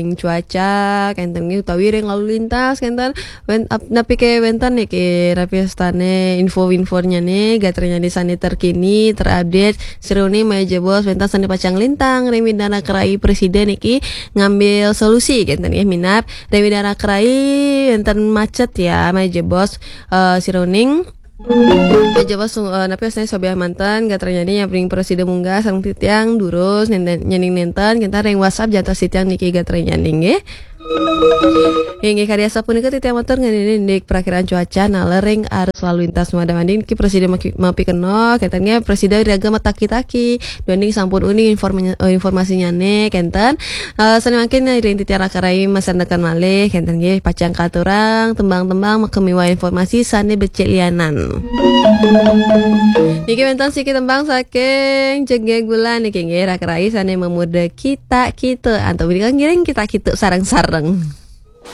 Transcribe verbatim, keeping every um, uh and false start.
ring cuaca kenten nggih, utawi ring lalu lintas kenten. Wen, ap-, napi ké wenten niki, napi astane info-infonyane, gatranyane sane terkini, terupdate, sira uning malih jebos wenten sane pacang lintang ring Widara Kerai Presida niki ngambil solusi kenten nggih, minab ring Widara Kerai wenten macet ya, malih jebos, eh, sira uning. Malih jebos, eh, napi astane sobiah manten, gatranyane nyambi ring Presida munggah sareng titiang durus nenten, nyening nenten, kenten ring WhatsApp jantos titiang niki gatranyane nggih. Inggih, kadi asapunika titiang matur ngenenin indik prakiraan cuaca nalering arus lalu lintas madang-mading niki Presida maki-, mapikenoh, kenten nggih, Presida iraga mataki-taki, duaning sampun uning inform-, eh, informasinyane, kenten. Eh, sane mangkin ring titiang Raka Rai masandekan malih, kenten nggih, pacang katurang tembang-tembang makamiwah informasi sane becik lianan. Niki wenten siki tembang saking Jegeg Bulan niki nggih, Raka Rai sane mamurda Kita Kita, antuk punika ngiring kita kita sareng-sareng.